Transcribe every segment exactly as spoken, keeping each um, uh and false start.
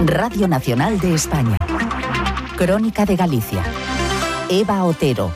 Radio Nacional de España. Crónica de Galicia. Eva Otero.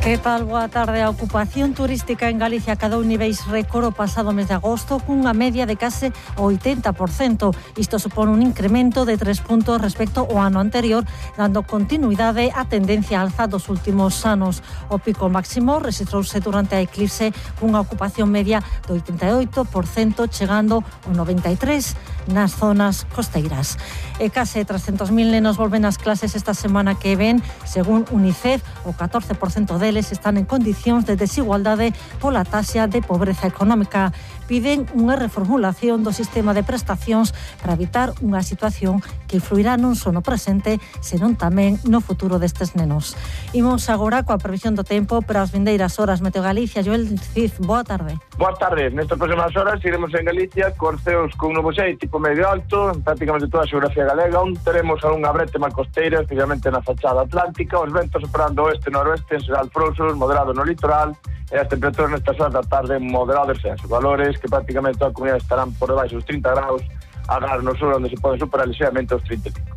Que tal? Boa tarde. A ocupación turística en Galicia cadou niveis récord o pasado mes de agosto cunha media de case oitenta por cento. Isto supón un incremento de tres puntos respecto ao ano anterior, dando continuidade á tendencia alza dos últimos anos. O pico máximo registrouse durante a eclipse cunha ocupación media do oitenta e oito por cento, chegando ao noventa e tres por cento nas zonas costeiras. E case trescentos mil nenos volven ás clases esta semana que ven. Según UNICEF, o catorce por cento deles están en condicións de desigualdade pola taxa de pobreza económica. Piden unha reformulación do sistema de prestacións para evitar unha situación que influirá non só no presente, senón tamén no futuro destes nenos. Imos agora coa previsión do tempo para as vindeiras horas. Meteo Galicia, Joel Cid, boa tarde. Boa tarde. Nestas próximas horas iremos en Galicia con ceos con nubosidade tipo medio alto, en prácticamente toda a xeografía galega, onde teremos algunha brétema costeira, especialmente na fachada atlántica, os ventos operando oeste-noroeste, en xeral frouxos, moderado no litoral, e as temperaturas nestas horas da tarde moderado descenso. Valores que prácticamente toda a comunidade estarán por debaixo dos trinta graus, agás no sur, onde se poden superar ligeiramente os trinta e cinco.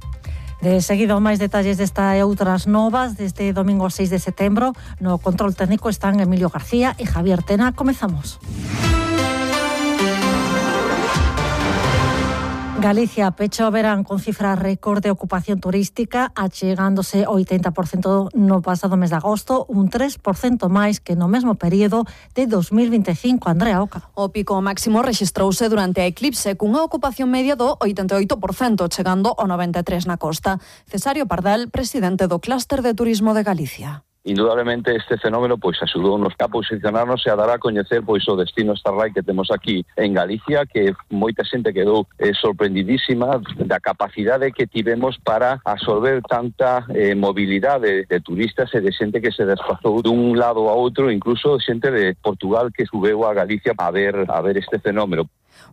De seguido, máis detalles desta e outras novas desde domingo seis de setembro. No control técnico están Emilio García e Javier Tena. Comezamos. Galicia pecha o verán con cifra récord de ocupación turística, achegándose ao oitenta por cento no pasado mes de agosto, un tres por cento máis que no mesmo período de dos mil vinte e cinco. Andrea Oca. O pico máximo rexistrouse durante a eclipse cunha ocupación media do oitenta e oito por cento, chegando ao noventa e tres por cento na costa. Cesáreo Pardal, presidente do Clúster de Turismo de Galicia. Indudablemente este fenómeno pois axudounos a posicionarnos e a dar a coñecer pois o destino Starlight que temos aquí en Galicia, que moita xente quedou eh, sorprendidísima da capacidade que tivemos para absorber tanta eh, mobilidade de turistas e de xente que se desplazou dun lado a outro, incluso xente de Portugal que subeu a Galicia a ver a ver este fenómeno.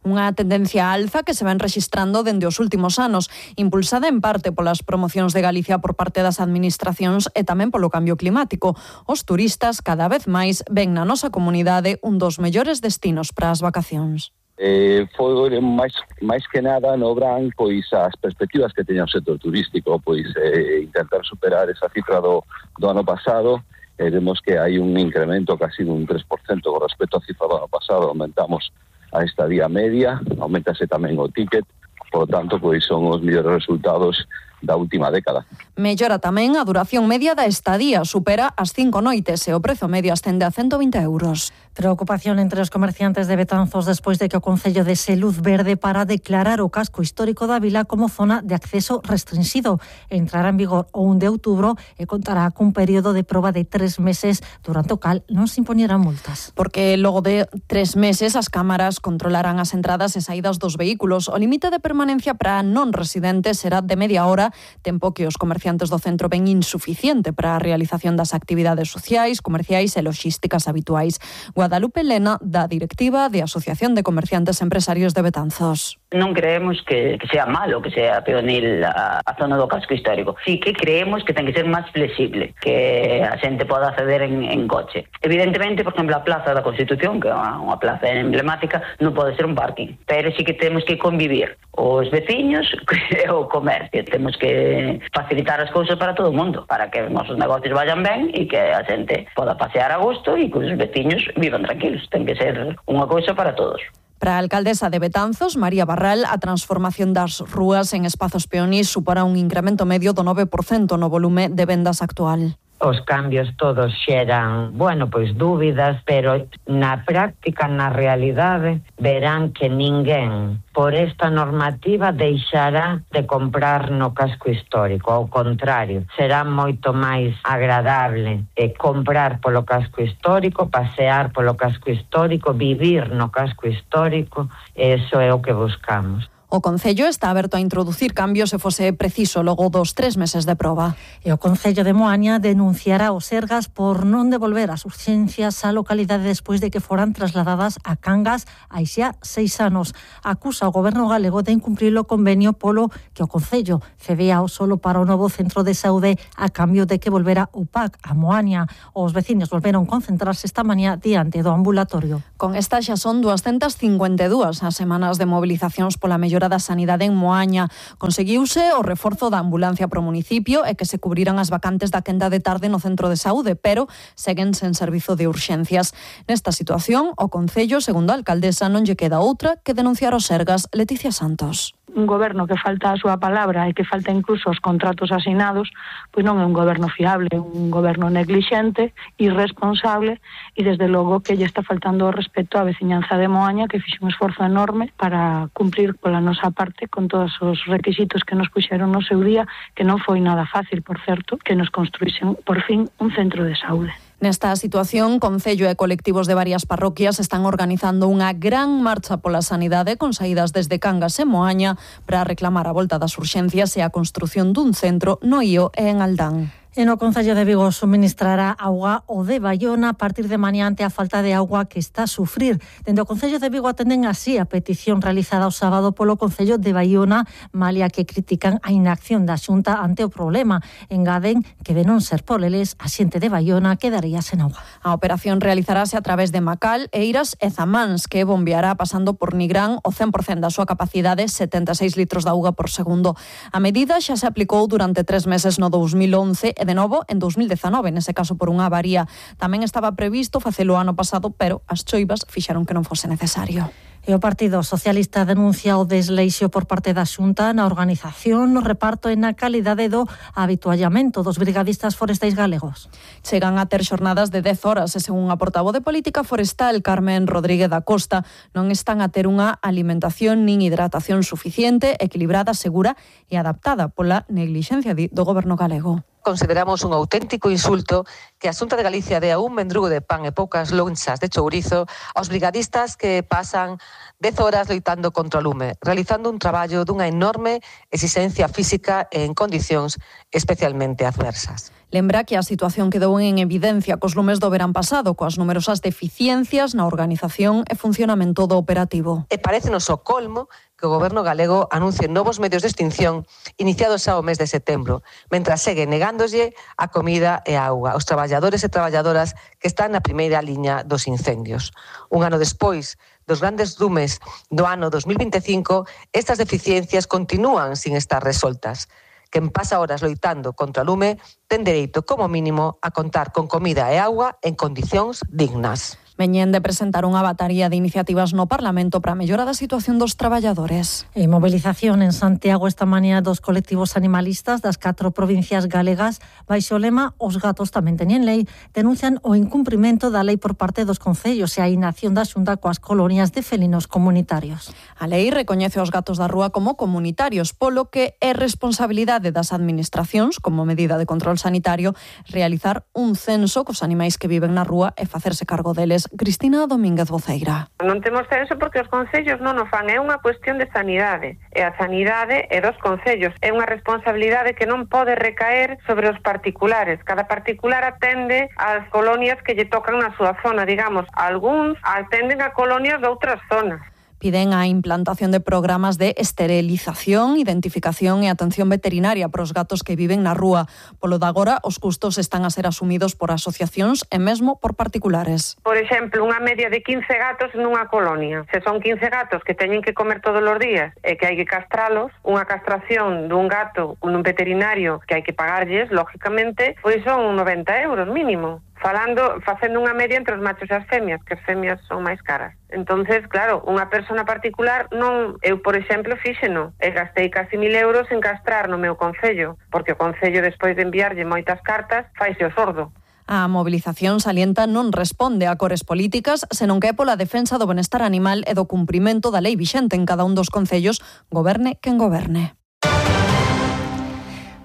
Unha tendencia alza que se ven rexistrando dende os últimos anos, impulsada en parte polas promocións de Galicia por parte das administracións e tamén polo cambio climático. Os turistas cada vez máis ven na nosa comunidade un dos mellores destinos para as vacacións. Eh, foi máis máis que nada no Bran pois as perspectivas que teña o sector turístico, pois eh, intentar superar esa cifra do, do ano pasado. Eh, vemos que hai un incremento casi dun tres por cento con respecto á cifra do ano pasado. Aumentamos a estadía media, aumentase tamén o ticket, por lo tanto, pois son os mellores resultados da última década. Mellora tamén a duración media da estadía, supera as cinco noites e o prezo medio ascende a ciento vinte euros. Preocupación entre os comerciantes de Betanzos despois de que o Concello dese luz verde para declarar o casco histórico da vila como zona de acceso restringido. Entrará en vigor o un de outubro e contará cun período de proba de tres meses, durante o cal non se impoñerán multas. Porque logo de tres meses as cámaras controlarán as entradas e saídas dos vehículos. O limite de permanencia para non residentes será de media hora, tempo que os comerciantes do centro ven insuficiente para a realización das actividades sociais, comerciais e logísticas habituais. Guadalupe Lena, da directiva de Asociación de Comerciantes Empresarios de Betanzos. Non creemos que, que sea malo que sea peonil a, a zona do casco histórico. Sí que creemos que ten que ser máis flexible, que a xente poda acceder en, en coche. Evidentemente, por exemplo, a Plaza da Constitución, que é unha plaza emblemática, non pode ser un parking, pero sí que temos que convivir os veciños e o comercio. Temos que facilitar as cousas para todo o mundo, para que os nosos negocios vayan ben e que a xente poda pasear a gusto e que os veciños vivan tranquilos. Ten que ser unha cousa para todos. Para a alcaldesa de Betanzos, María Barral, a transformación das rúas en espazos peonís suporá un incremento medio do nove por cento no volume de vendas actual. Os cambios todos xeran, bueno, pois dúbidas, pero na práctica, na realidade, verán que ninguén por esta normativa deixará de comprar no casco histórico. Ao contrario, será moito máis agradable eh, comprar polo casco histórico, pasear polo casco histórico, vivir no casco histórico. Eso é o que buscamos. O Concello está aberto a introducir cambios se fose preciso logo dos tres meses de proba. E o Concello de Moaña denunciará os Sergas por non devolver as urxencias á localidade despois de que foran trasladadas a Cangas hai xa seis anos. Acusa o Goberno galego de incumprir o convenio polo que o Concello cedía o solo para o novo centro de saúde a cambio de que volvera o P A C a Moaña. Os veciños volveron concentrarse esta mañá diante do ambulatorio. Con esta xa son doscientas cincuenta e dúas as semanas de movilizacións pola mellora mellora da sanidade en Moaña. Conseguiuse o reforzo da ambulancia pro municipio e que se cubriran as vacantes da quenda de tarde no centro de saúde, pero seguen sen servizo de urxencias. Nesta situación, o Concello, segundo a alcaldesa, non lle queda outra que denunciar os Sergas. Leticia Santos. Un goberno que falta a súa palabra e que falta incluso os contratos asinados, pois non é un goberno fiable, é un goberno neglixente, irresponsable e desde logo que lle está faltando o respeto á veciñanza de Moaña, que fixe un esforzo enorme para cumprir pola nosa parte con todos os requisitos que nos puxeron no seu día, que non foi nada fácil, por certo, que nos construísen por fin un centro de saúde. Nesta situación, Concello e colectivos de varias parroquias están organizando unha gran marcha pola sanidade con saídas desde Cangas e Moaña para reclamar a volta das urxencias e a construción dun centro no Ío e en Aldán. E no Concello de Vigo suministrará auga o de Baiona a partir de mañá ante a falta de auga que está a sufrir. Dende o Concello de Vigo atenden así a petición realizada o sábado polo Concello de Baiona, malia que critican a inacción da Xunta ante o problema. Engaden que de non ser por eles, a xente de Baiona quedaría sen auga. A operación realizarase a través de Macal, Eiras e Zamáns, que bombeará pasando por Nigrán o cen por cento da súa capacidade, setenta e seis litros de auga por segundo. A medida xa se aplicou durante tres meses no dous mil once e de novo en dous mil dezanove, nese caso por unha avaría. Tamén estaba previsto facelo ano pasado, pero as choivas fixeron que non fose necesario. E o Partido Socialista denuncia o desleixo por parte da Xunta na organización, no reparto e na calidade do habituallamento dos brigadistas forestais galegos. Chegan a ter xornadas de dez horas e, según a portavoz de Política Forestal, Carmen Rodríguez da Costa, non están a ter unha alimentación nin hidratación suficiente, equilibrada, segura e adaptada pola neglixencia do goberno galego. Consideramos un auténtico insulto que a Xunta de Galicia dea un mendrugo de pan e poucas lonchas de chourizo aos brigadistas que pasan dez horas loitando contra o lume, realizando un traballo dunha enorme exigencia física e en condicións especialmente adversas. Lembra que a situación quedou en evidencia cos lumes do verán pasado, coas numerosas deficiencias na organización e funcionamento do operativo. E parécenos o colmo que o goberno galego anuncie novos medios de extinción iniciados xa o mes de setembro, mentras segue negándolle a comida e a auga aos traballadores e traballadoras que están na primeira liña dos incendios. Un ano despois dos grandes lumes do ano dos mil vinte e cinco, estas deficiencias continúan sin estar resoltas. Quen pasa horas loitando contra o lume ten dereito, como mínimo, a contar con comida e auga en condicións dignas. Veñen de presentar unha batería de iniciativas no Parlamento para a mellora da situación dos traballadores. E movilización en Santiago esta mañá dos colectivos animalistas das catro provincias galegas baixo o lema Os gatos tamén teñen lei, denuncian o incumprimento da lei por parte dos concellos e a inacción da Xunta coas colonias de felinos comunitarios. A lei recoñece os gatos da rúa como comunitarios, polo que é responsabilidade das administracións, como medida de control sanitario, realizar un censo cos animais que viven na rúa e facerse cargo deles. Cristina Domínguez Voceira. Non temos censo porque os concellos non o fan, é unha cuestión de sanidade, e a sanidade é dos concellos, é unha responsabilidade que non pode recaer sobre os particulares. Cada particular atende ás colonias que lle tocan na súa zona, digamos, algúns atenden a colonias de outras zonas. Piden a implantación de programas de esterilización, identificación e atención veterinaria para os gatos que viven na rúa. Polo de agora, os custos están a ser asumidos por asociacións e mesmo por particulares. Por exemplo, unha media de quince gatos nunha colonia. Se son quince gatos que teñen que comer todos os días e que hai que castralos, unha castración dun gato nun veterinario que hai que pagarlles, lógicamente, pois son noventa euros mínimo. Falando, facendo unha media entre os machos e as femias, que as femias son máis caras. Entonces, claro, unha persona particular non, eu, por exemplo, fíxeno, e gastei casi mil euros en castrar no meu concello, porque o concello, despois de enviarlle moitas cartas, faise o sordo. A mobilización salienta non responde a cores políticas, senón que é pola defensa do benestar animal e do cumprimento da lei vixente en cada un dos concellos, goberne quen goberne.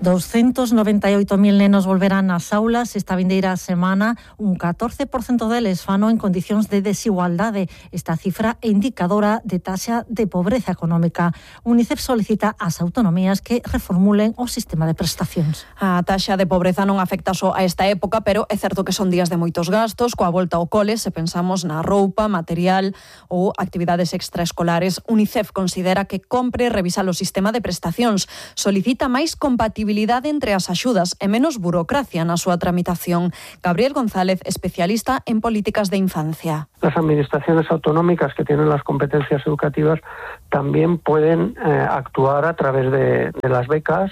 doscientos noventa e oito mil nenos volverán ás aulas esta vindeira semana, un catorce por cento deles fano en condicións de desigualdade. Esta cifra é indicadora de taxa de pobreza económica. Unicef solicita ás autonomías que reformulen o sistema de prestacións. A taxa de pobreza non afecta só a esta época, pero é certo que son días de moitos gastos, coa volta ao cole, se pensamos na roupa, material ou actividades extraescolares. Unicef considera que compre revisar o sistema de prestacións, solicita máis compatibilidade compatibilidade entre as axudas e menos burocracia na súa tramitación. Gabriel González, especialista en políticas de infancia. Las administraciones autonómicas que tienen las competencias educativas también pueden eh, actuar a través de, de las becas,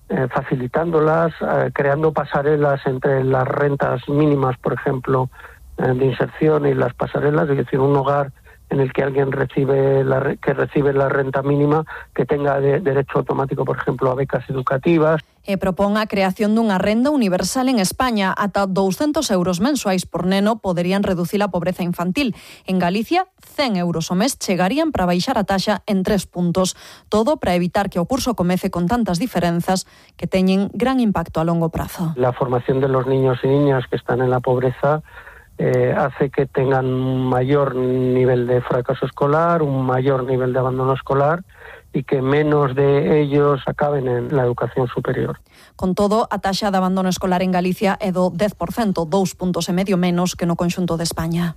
eh, facilitándolas, eh, creando pasarelas entre las rentas mínimas, por ejemplo, eh, de inserción y las pasarelas, es decir, un hogar en el que alguien recibe la, que recibe la renta mínima, que tenga de, derecho automático, por ejemplo, a becas educativas. E propón a creación dunha renda universal en España. Ata douscentos euros mensuais por neno poderían reducir a pobreza infantil. En Galicia, cen euros ao mes chegarían para baixar a taxa en tres puntos. Todo para evitar que o curso comece con tantas diferenzas que teñen gran impacto a longo prazo. La formación de los niños y niñas que están en la pobreza Eh, hace que tengan un mayor nivel de fracaso escolar, un mayor nivel de abandono escolar y que menos de ellos acaben en la educación superior. Con todo, a taxa de abandono escolar en Galicia é do dez por cento, dous puntos e medio menos que no conxunto de España.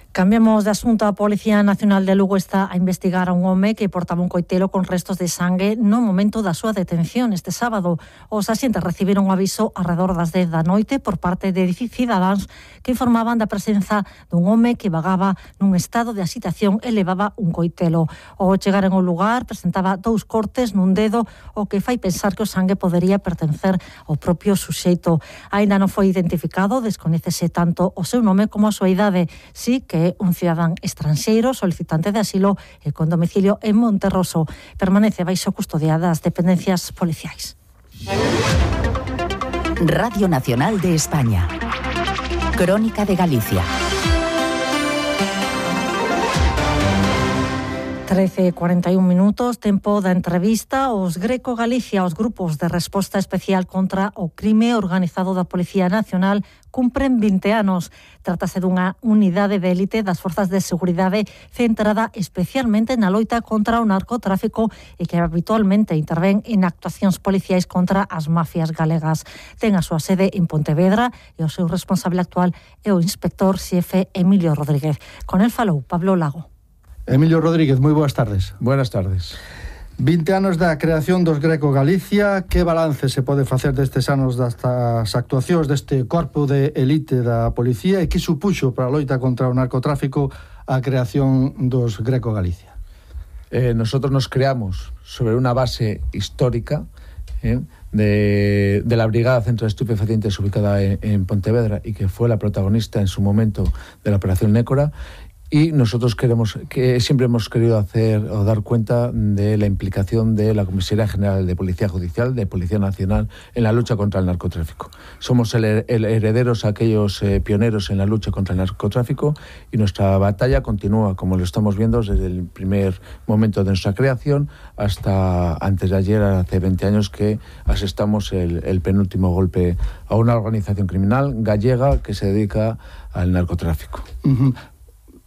Cambiamos de asunto. A Policía Nacional de Lugo está a investigar a un home que portaba un coitelo con restos de sangue no momento da súa detención este sábado. Os axentes recibiron un aviso arredor das dez da noite por parte de cidadáns que informaban da presenza dun home que vagaba nun estado de axitación e levaba un coitelo. Ao chegar en un lugar presentaba dous cortes nun dedo, o que fai pensar que o sangue podería pertencer ao propio suxeito. Aínda non foi identificado, descoñécese tanto o seu nome como a súa idade. Sí que é un cidadán estranxeiro solicitante de asilo e con domicilio en Monterroso. Permanece baixo custodia das dependencias policiais. Radio Nacional de España. Crónica de Galicia. trece e cuarenta e un minutos, tempo da entrevista. Os Greco Galicia, os grupos de resposta especial contra o crime organizado da Policía Nacional, cumpren vinte anos. Trátase dunha unidade de élite das forzas de seguridade centrada especialmente na loita contra o narcotráfico e que habitualmente intervén en actuacións policiais contra as mafias galegas. Ten a súa sede en Pontevedra e o seu responsable actual é o inspector xefe Emilio Rodríguez. Con el falou Pablo Lago. Emilio Rodríguez, moi boas tardes. Buenas tardes. vinte anos da creación dos Greco Galicia. Que balance se pode facer destes anos destas actuacións deste corpo de elite da policía e que supuxo para a loita contra o narcotráfico a creación dos Greco Galicia? Eh, nosotros nos creamos sobre unha base histórica eh, de, de la Brigada Centro de Estupefacientes ubicada en, en Pontevedra y que fue la protagonista en su momento de la Operación Nécora. Y nosotros queremos, que siempre hemos querido hacer o dar cuenta de la implicación de la Comisaría General de Policía Judicial, de Policía Nacional, en la lucha contra el narcotráfico. Somos el, el herederos, aquellos eh, pioneros en la lucha contra el narcotráfico, y nuestra batalla continúa, como lo estamos viendo, desde el primer momento de nuestra creación hasta antes de ayer, hace veinte años, que asestamos el, el penúltimo golpe a una organización criminal gallega que se dedica al narcotráfico. Uh-huh.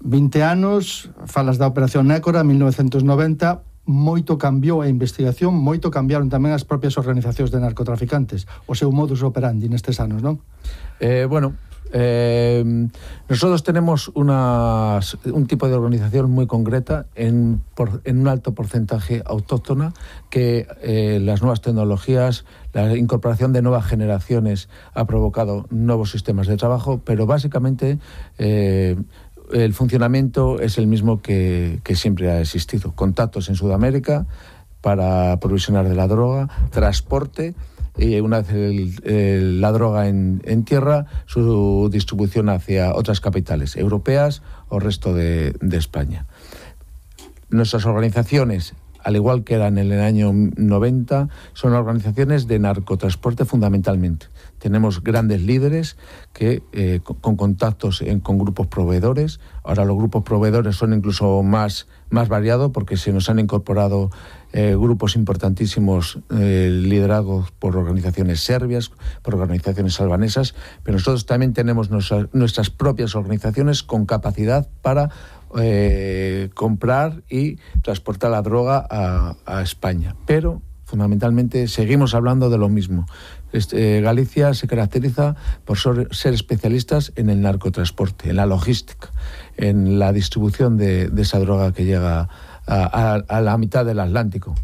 vinte anos, falas da Operación Nécora, mil novecentos noventa, moito cambiou a investigación, moito cambiaron tamén as propias organizacións de narcotraficantes, o seu modus operandi nestes anos, non? Eh, bueno, eh, nosotros tenemos una, un tipo de organización muy concreta en, por, en un alto porcentaje autóctona que eh, las nuevas tecnologías, la incorporación de nuevas generaciones ha provocado nuevos sistemas de trabajo, pero básicamente eh, el funcionamiento es el mismo que, que siempre ha existido. Contactos en Sudamérica para provisionar de la droga, transporte, y una vez el, el, la droga en, en tierra, su distribución hacia otras capitales europeas o resto de, de España. Nuestras organizaciones, al igual que eran en el año noventa, son organizaciones de narcotransporte fundamentalmente. Tenemos grandes líderes que eh, con contactos en, con grupos proveedores. Ahora los grupos proveedores son incluso más, más variados porque se nos han incorporado eh, grupos importantísimos eh, liderados por organizaciones serbias, por organizaciones albanesas, pero nosotros también tenemos nuestra, nuestras propias organizaciones con capacidad para eh, comprar y transportar la droga a, a España. Pero fundamentalmente seguimos hablando de lo mismo. Este, eh, Galicia se caracteriza por ser, ser especialistas en el narcotransporte, en la logística, en la distribución de, de esa droga que llega a, a, a la mitad del Atlántico.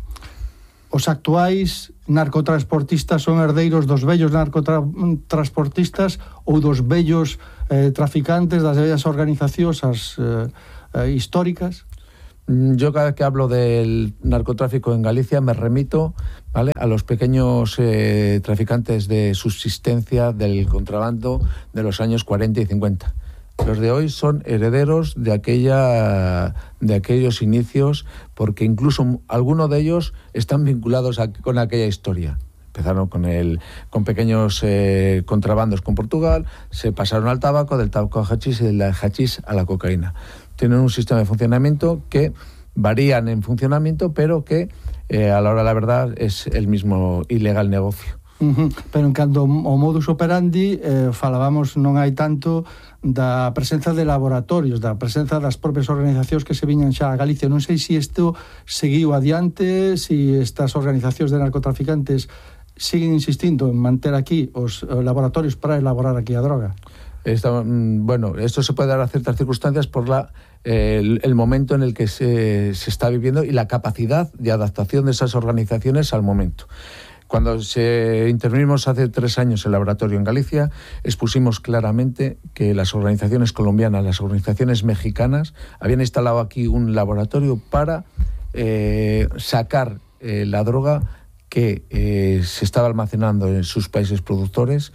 os actuais narcotransportistas son herdeiros dos vellos narcotransportistas ou dos vellos eh, traficantes, das vellas organizacións as, eh, eh, históricas? Yo cada vez que hablo del narcotráfico en Galicia me remito, ¿vale?, a los pequeños eh, traficantes de subsistencia del contrabando de los años cuarenta y cincuenta. Los de hoy son herederos de aquella de aquellos inicios, porque incluso algunos de ellos están vinculados a, con aquella historia. Empezaron con el con pequeños eh, contrabandos con Portugal, se pasaron al tabaco, del tabaco al hachís y del hachís a la cocaína. Tienen un sistema de funcionamiento que varían en funcionamiento, pero que eh, a la hora de la verdad es el mismo ilegal negocio. Uh-huh. Pero en canto ao modus operandi eh, falábamos non hai tanto da presenza de laboratorios, da presenza das propias organizacións que se viñan xa a Galicia. Non sei se isto seguiu adiante, se estas organizacións de narcotraficantes siguen insistindo en manter aquí os laboratorios para elaborar aquí a droga. Esta, bueno, esto se puede dar a ciertas circunstancias por la, eh, el, el momento en el que se, se está viviendo y la capacidad de adaptación de esas organizaciones al momento. Cuando se intervinimos hace tres años el laboratorio en Galicia, expusimos claramente que las organizaciones colombianas, las organizaciones mexicanas, habían instalado aquí un laboratorio para eh, sacar eh, la droga que eh, se estaba almacenando en sus países productores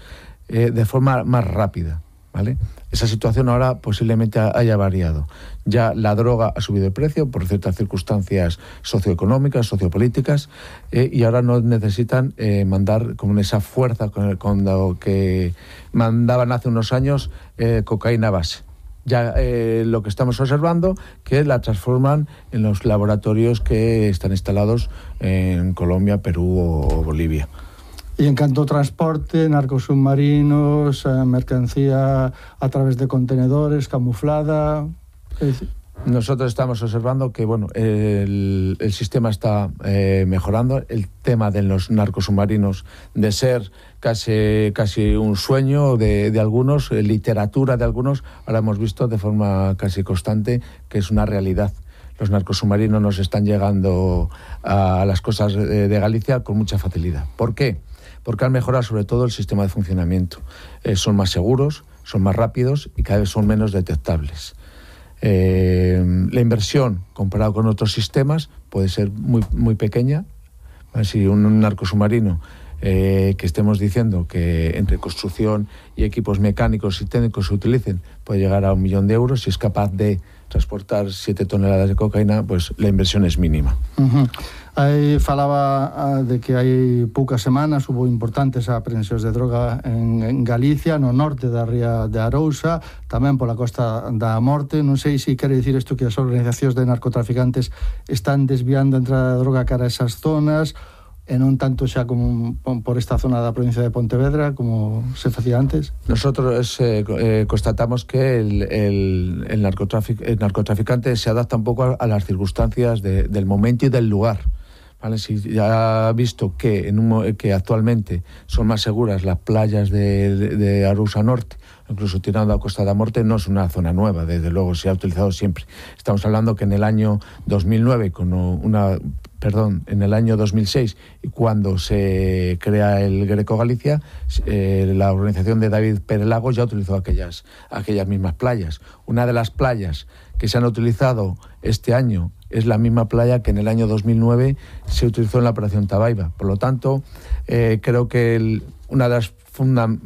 eh, de forma más rápida, ¿vale? Esa situación ahora posiblemente haya variado. Ya la droga ha subido el precio por ciertas circunstancias socioeconómicas, sociopolíticas, eh, y ahora no necesitan eh, mandar con esa fuerza con, con lo que mandaban hace unos años eh, cocaína base. Ya eh, lo que estamos observando que la transforman en los laboratorios que están instalados en Colombia, Perú o Bolivia. Y en canto ao transporte, narcos submarinos, eh, mercancía a través de contenedores, camuflada... Nosotros estamos observando que bueno, el, el sistema está eh, mejorando. El tema de los narcos submarinos, de ser casi, casi un sueño de, de algunos, eh, literatura de algunos, ahora hemos visto de forma casi constante que es una realidad. Los narcos submarinos nos están llegando a las costas de, de Galicia con mucha facilidad. ¿Por qué? Porque han mejorado sobre todo el sistema de funcionamiento. Eh, son más seguros, son más rápidos y cada vez son menos detectables. Eh, la inversión comparado con otros sistemas puede ser muy, muy pequeña. Si un, un narco submarino eh, que estemos diciendo que entre construcción y equipos mecánicos y técnicos se utilicen puede llegar a un millón de euros, si es capaz de transportar siete toneladas de cocaína, pues la inversión es mínima. Uh-huh. Aí falaba de que hai poucas semanas hubo importantes aprehensións de droga en, en Galicia, no norte da ría de Arousa, tamén pola Costa da Morte. Non sei se quere dicir isto que as organizacións de narcotraficantes están desviando a entrada de droga cara a esas zonas, e non tanto xa como por esta zona da provincia de Pontevedra como se facía antes. Nosotros eh, eh, constatamos que el, el, el, narcotrafic, el narcotraficante se adapta un poco a, a las circunstancias de, del momento y del lugar. ¿Vale? Si ya ha visto que, en un, que actualmente son más seguras las playas de, de, de Arousa Norte, incluso tirando a Costa da Morte, no es una zona nueva, desde luego se ha utilizado siempre. Estamos hablando que en el año dos mil nueve, con una, perdón, en el año dos mil seis, cuando se crea el Greco Galicia, eh, la organización de David Pérez Lagos ya utilizó aquellas, aquellas mismas playas. Una de las playas que se han utilizado este año es la misma playa que en el año dos mil nueve se utilizó en la Operación Tabaiba. Por lo tanto, eh, creo que el, una de las funda-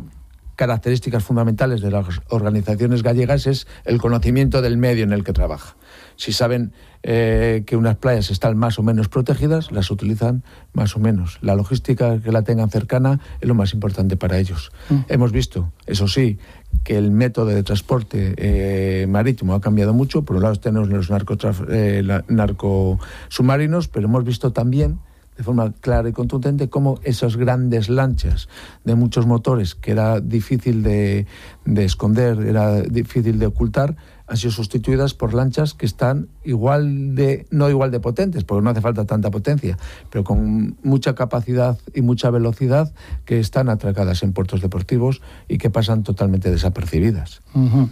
características fundamentales de las organizaciones gallegas es el conocimiento del medio en el que trabaja. Si saben eh, que unas playas están más o menos protegidas, las utilizan más o menos. La logística, que la tengan cercana, es lo más importante para ellos. Mm. Hemos visto, eso sí, que el método de transporte eh, marítimo ha cambiado mucho. Por un lado tenemos los narcotraf- eh, la, narcosubmarinos, pero hemos visto también de forma clara y contundente cómo esas grandes lanchas de muchos motores, que era difícil de, de esconder, era difícil de ocultar, han sido sustituidas por lanchas que están igual de, no igual de potentes, porque no hace falta tanta potencia, pero con mucha capacidad y mucha velocidad, que están atracadas en puertos deportivos y que pasan totalmente desapercibidas. Uh-huh.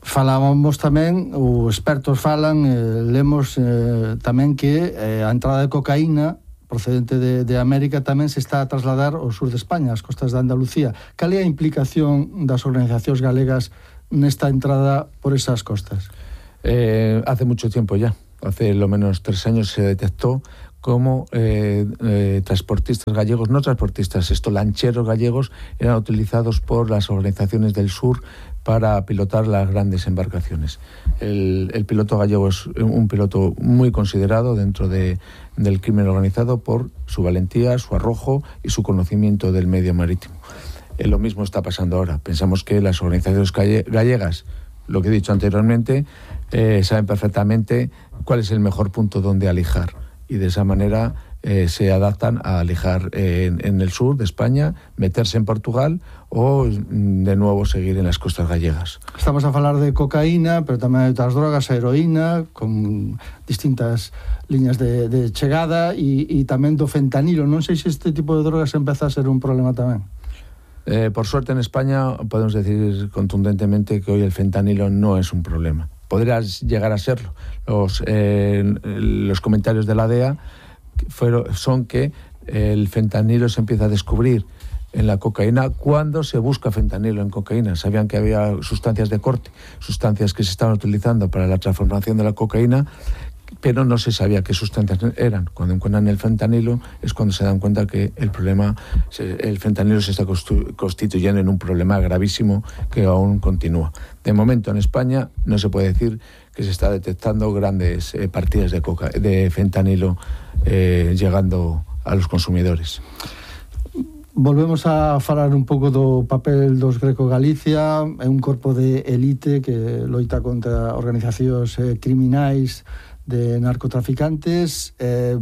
Falábamos tamén, os expertos falan, eh, lemos eh, tamén que eh, a entrada de cocaína procedente de, de América, tamén se está a trasladar ao sur de España, as costas de Andalucía. Cal é a implicación das organizacións galegas nesta entrada por esas costas? Eh, hace mucho tiempo ya, hace lo menos tres años se detectó cómo eh, eh, transportistas gallegos, no transportistas, esto lancheros gallegos, eran utilizados por las organizaciones del sur para pilotar las grandes embarcaciones. El, el piloto gallego es un piloto muy considerado dentro de, del crimen organizado por su valentía, su arrojo y su conocimiento del medio marítimo. Eh, lo mismo está pasando ahora. Pensamos que las organizaciones gallegas, lo que he dicho anteriormente, eh, saben perfectamente cuál es el mejor punto donde alijar, y de esa manera eh, se adaptan a alijar eh, en, en el sur de España, meterse en Portugal o de nuevo seguir en las costas gallegas. Estamos a falar de cocaína, pero tamén hai outras drogas, a heroína, con distintas liñas de, de chegada, e, e tamén do fentanilo. Non sei se este tipo de drogas empeza a ser un problema tamén. Eh, por suerte en España podemos decir contundentemente que hoy el fentanilo no es un problema. Podría llegar a serlo. Los, eh, los comentarios de la D E A fueron, son que el fentanilo se empieza a descubrir en la cocaína cuando se busca fentanilo en cocaína. Sabían que había sustancias de corte, sustancias que se estaban utilizando para la transformación de la cocaína, pero no se sabía qué sustancias eran. Cuando encuentran el fentanilo es cuando se dan cuenta que el problema, el fentanilo se está constituyendo en un problema gravísimo que aún continúa. De momento en España no se puede decir que se está detectando grandes eh, partidas de, coca, de fentanilo eh, llegando a los consumidores. Volvemos a falar un pouco do papel dos Greco Galicia. É un corpo de elite que loita contra organizacións eh, criminais de narcotraficantes. Eh,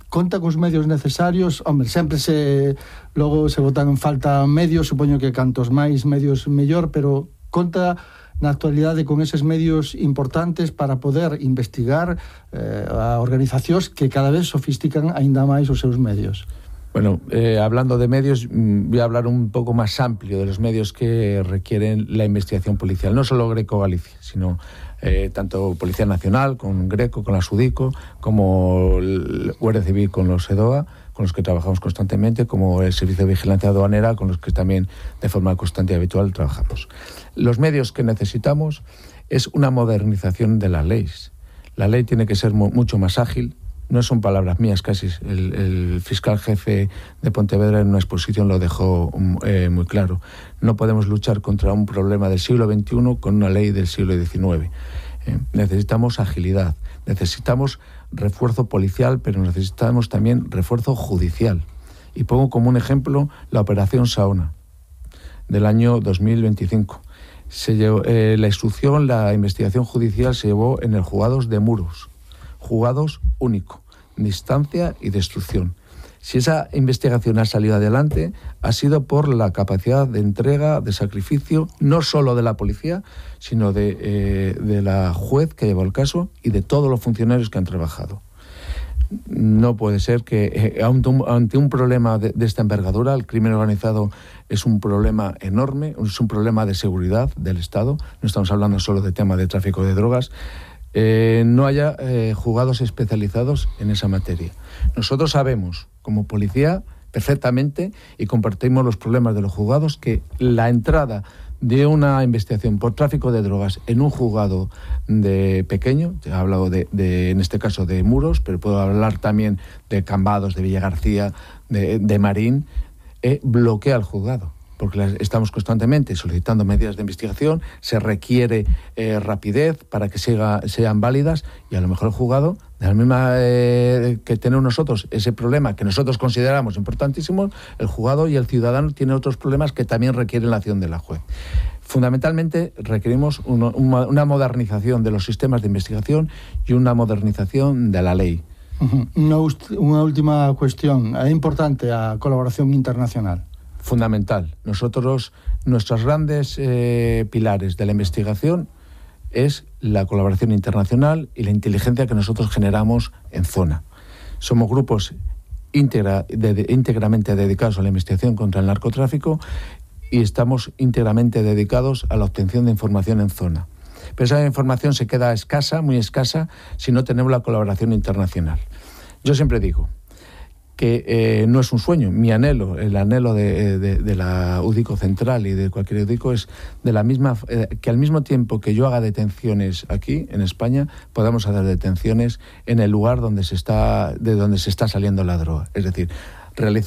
conta cos medios necesarios. Hombre, sempre se logo se botan en falta medios, supoño que cantos máis medios mellor, pero conta na actualidade con eses medios importantes para poder investigar eh, a organizacións que cada vez sofistican aínda máis os seus medios. Bueno, eh, hablando de medios, voy a hablar un poco más amplio de los medios que requieren la investigación policial. No solo Greco Galicia, sino eh, tanto Policía Nacional, con Greco, con la Sudico, como el Guardia Civil con los EDOA, con los que trabajamos constantemente, como el Servicio de Vigilancia Aduanera, con los que también de forma constante y habitual trabajamos. Los medios que necesitamos es una modernización de las leyes. La ley tiene que ser mu- mucho más ágil. No son palabras mías casi, el, el fiscal jefe de Pontevedra en una exposición lo dejó eh, muy claro. No podemos luchar contra un problema del siglo veintiuno con una ley del siglo diecinueve. Eh, necesitamos agilidad, necesitamos refuerzo policial, pero necesitamos también refuerzo judicial. Y pongo como un ejemplo la Operación Saona del año dos mil veinticinco. Se llevó, eh, la instrucción, la investigación judicial se llevó en el Juzgados de Muros. Juzgados único, distancia y destrucción. Si esa investigación ha salido adelante, ha sido por la capacidad de entrega, de sacrificio, no solo de la policía, sino de, eh, de la juez que llevó el caso y de todos los funcionarios que han trabajado. No puede ser que eh, ante, un, ante un problema de, de esta envergadura, el crimen organizado es un problema enorme, es un problema de seguridad del Estado, no estamos hablando solo de tema de tráfico de drogas, Eh, no haya eh, juzgados especializados en esa materia. Nosotros sabemos, como policía, perfectamente, y compartimos los problemas de los juzgados, que la entrada de una investigación por tráfico de drogas en un juzgado de pequeño, he hablado de, de, en este caso de Muros, pero puedo hablar también de Cambados, de Villagarcía, de, de Marín, eh, bloquea el juzgado. Porque las estamos constantemente solicitando medidas de investigación, se requiere eh, rapidez para que siga, sean válidas, y a lo mejor el juzgado, de la misma eh, que tenemos nosotros ese problema que nosotros consideramos importantísimo, el juzgado y el ciudadano tienen otros problemas que también requieren la acción de la juez. Fundamentalmente requerimos uno, una, una modernización de los sistemas de investigación y una modernización de la ley. Uh-huh. Una, una última cuestión. ¿Es importante la colaboración internacional? Fundamental. Nosotros, nuestros grandes eh, pilares de la investigación es la colaboración internacional y la inteligencia que nosotros generamos en zona. Somos grupos íntegra, de, de, íntegramente dedicados a la investigación contra el narcotráfico y estamos íntegramente dedicados a la obtención de información en zona. Pero esa información se queda escasa, muy escasa, si no tenemos la colaboración internacional. Yo siempre digo que eh, no es un sueño. Mi anhelo, el anhelo de, de, de la UDICO Central y de cualquier UDICO es de la misma eh, que al mismo tiempo que yo haga detenciones aquí en España, podamos hacer detenciones en el lugar donde se está de donde se está saliendo la droga. Es decir, realizar